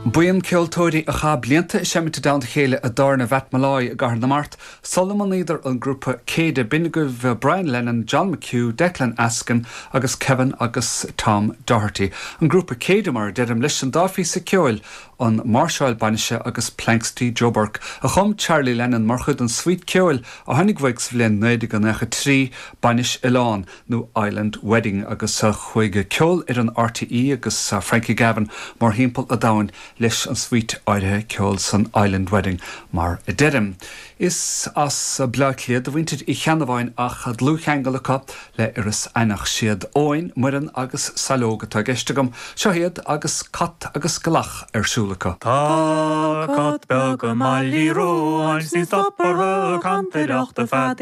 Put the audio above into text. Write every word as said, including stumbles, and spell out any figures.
Buíon ceoltóirí a chaith blianta ag seinm i dteannta a chéile i dtábhairne Mhatt Molloy i gCathair na Mart, sula mbunaíodar an grúpa Céide b'in agaibh Brian Lennon, John McHugh, Declan Askin agus Kevin agus Tom Doherty. An grúpa Céide mar a deirim leis an dá phíosa ceoil an Máirseáil Bainise agus Planxty Joe Burke a chum Charlie Lennon mar chuid den suite ceoil a tháinig amach sa bhliain naoi déag nócha trí Bainis Oileáin nó Island Wedding agus chuaigh ceol ar an RTÉ agus Frankie Gavin mórthimpeall an domhain leis an suite áirithe ceoil san Island Wedding mar a deirim. Is as Bleá Cliath do mhuintir Uí Cheannabháin ach dlúthcheangal acu le Iorras Aithneach siad Eoin, Muireann agus Saileog atá i gceist agam, seo iad agus cat agus glach ar siúl acu. Tá cat beag i mBaile Ruáin 's ní stopfar cantaireachta feadh